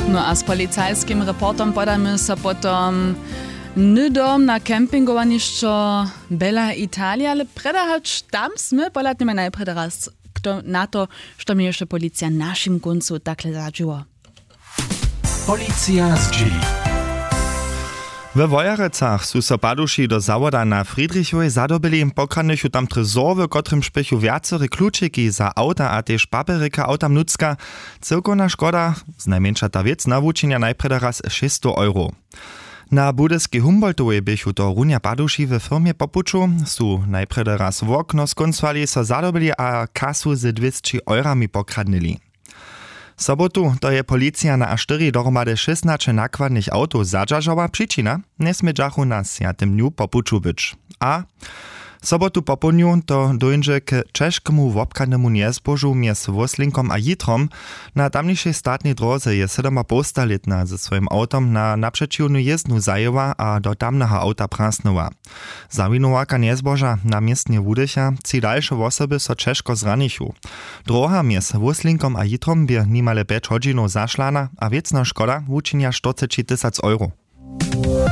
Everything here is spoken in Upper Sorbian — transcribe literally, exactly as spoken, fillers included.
No a z policajskim reportom podamy so potom hnydom na campingowanišćo Bella Italia, ale prjedy hač tam smy pohladnjemy najprjedy raz na to, što měješe policija w našim kóncu takle zadźiło. Policija zdźěli. We Wojerecach su so paduši do zawoda na Friedrichowej zadobyli, pokradnychu tam trezor, w kotrymž běchu wjacore klučiki za awta a tež papjerjika awtam nutřka. Cyłkowna škoda, znajmjeńša ta wěc, nawučenja najprjedy raz šěsćstow euro. Na budyskej Humboldtowej běchu to runja paduši we firmje po puću, su najprjedy raz wokno skóncowali, so zadobyli a kasu z dwěsći eurami pokradnyli. Sobotu to je policija na A štyri dohromady šěsnaće nakładnych awtow zadźeržała. Přičina: njesmědźachu na swjatym dnju po puću być. A sobotu popołdnju to dóńdźe k ćežkemu wobchadnemu njezbožu mjez Wóslinkom a Jitrom. Na tamnišej statnej dróze je sydomapołstalětna ze swojim awtom na napřećiwnu jězdnu zajěła a do tamneho awta prasnyła. Zawinowarka njezboža na městnje wudycha, tři dalše wosoby so ćežko zranichu. Dróha mjez Wóslinkom a Jitrom bě nimale pjeć hodźinow zašlana a wěcna škoda wučinja štyrceći tysac euro.